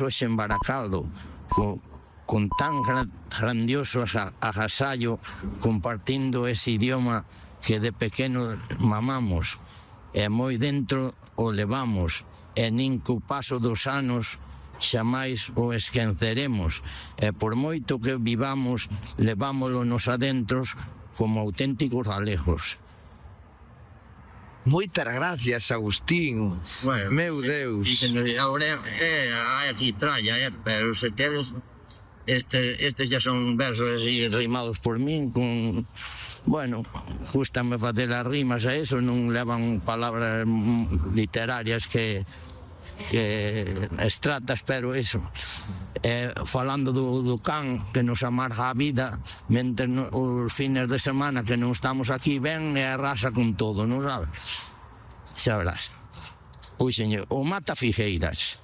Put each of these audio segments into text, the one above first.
hoxe en Baracaldo, con tan grandioso agasallo, compartindo ese idioma que de pequeno mamamos, e moi dentro o levamos, e nin co paso dos anos xamais o esqueceremos, e por moito que vivamos, levámolo nos adentros como auténticos galegos. Moitas gracias, Agustín. Bueno, meu Deus. Ahora hai aquí tralla, pero se queres, estes ya son versos así rimados por min, con... Bueno, gústame facer as rimas a eso, non levan palabras literarias que extratas, pero eso, falando do can que nos amarga a vida, mentre os fines de semana que non estamos aquí ven e arrasa con todo, non sabes? Xa verás. Pois, señor, o Mata Figueiras,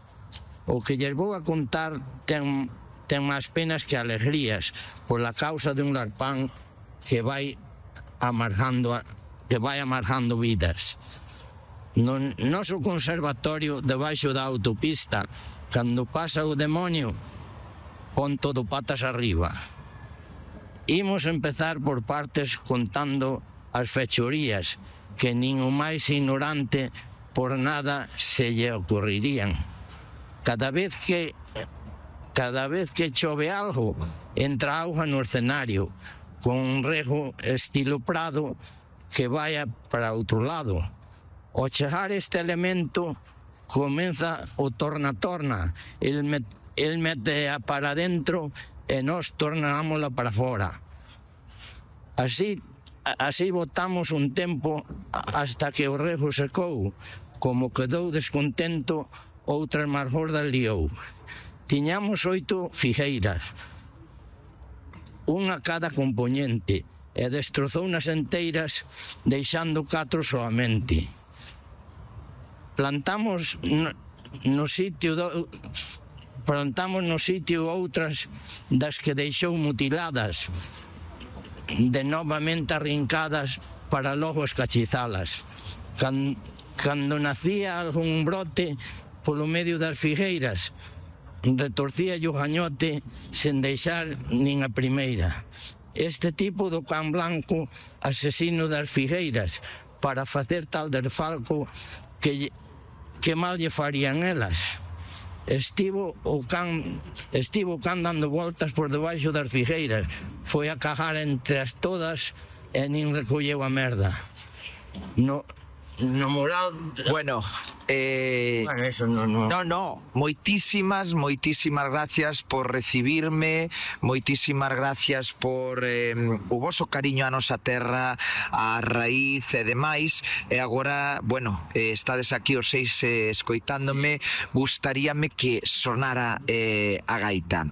o que lles vou a contar ten máis penas que alegrías, pola causa de un arpán que vai amargando vidas. No noso conservatorio, debaixo da autopista, cando pasa o demonio, pon todo patas arriba. Imos empezar por partes contando as fechorías que nin o máis ignorante por nada se lle ocurrirían. Cada vez que chove algo, entra auga no escenario, con un rego estilo Prado que vaya para outro lado. Ao chegar este elemento, comeza o torna-torna. El mete para dentro e nós tornámola para fora. Así botamos un tempo hasta que o rego secou. Como quedou descontento, outras máis gordas liou. Tiñamos 8 figueiras, unha cada componente, e destrozou nas enteiras, deixando 4 soamente. Plantamos no sitio outras das que deixou mutiladas, de novamente arrincadas para logo escachizalas. Cando nacía algún brote polo medio das figueiras, retorcía o gañote sen deixar nin a primeira. Este tipo do can blanco, asesino das figueiras, para facer tal desfalco que mal lle farían elas. Estivo o can dando voltas por debaixo das figueiras, foi a cagar entre as todas e nin recolleu a merda. No moral... Bueno, eso no. No, moitísimas gracias por recibirme, moitísimas gracias por o voso cariño á nosa terra, á raíz e demais. E agora, bueno, estades aquí os 6 escoitándome, gustaríame que sonara a gaita.